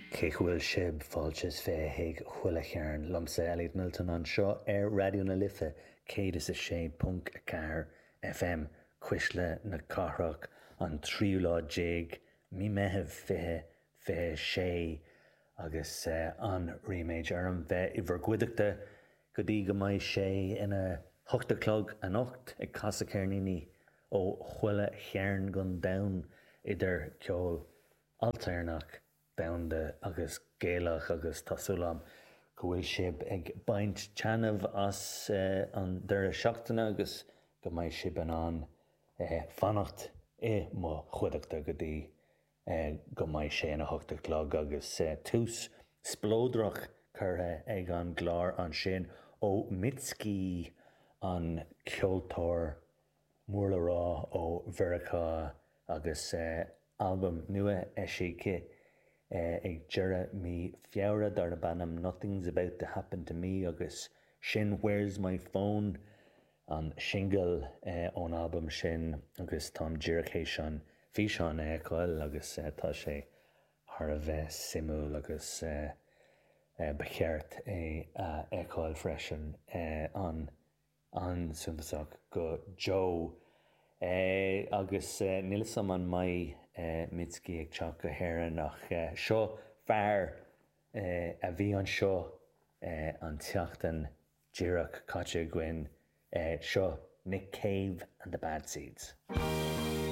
Cén chaoi a bhfuil sibh? Fáilte is 20 chuig Chuile Chearn liomsa, Elliot Milton, anseo ar Raidió na Life 106.4 FM, Cuisle na Cathrach, an tríú lá déag mí Meitheamh 2026 agus an-ríméad orm bheith i bhur gcuideachta go dtí go mbeidh sé ina hocht a chlog anocht ag casadh ceirníní ó chuile chearn den domhan idir ceol ailtéarnach, domhanda agus Gaelach agus tá súil agam go bhfuil sibh ag baint taitneamh as an deireadh seachtaine agus go mbeidh sibh in ann fanacht i mo chuideachta go dtí go mbeidh sé ina hocht a chlog agus tús spleodrach curtha ag an gclár ansin ó Mitski, an ceoltóir mór le rá ó Mheiriceá agus albam nua eisithe ag deireadh mí Feabhra darb ainm Nothing's About To Happen To Me agus sin Where's My Phone an singil ón albam sin agus táim díreach théis an físeán a fheiceáil agus tá sé thar a bheith suimiúil agus ba cheart é a fheiceáil freisin an an-suntasach go deo. Agus níl 'fhios a'm an mbeidh Mitski ag teacht go hÉirinn ach seo fear a bhí anseo an tseachtain díreach caite againn, seo Nick Cave and the Bad Seeds.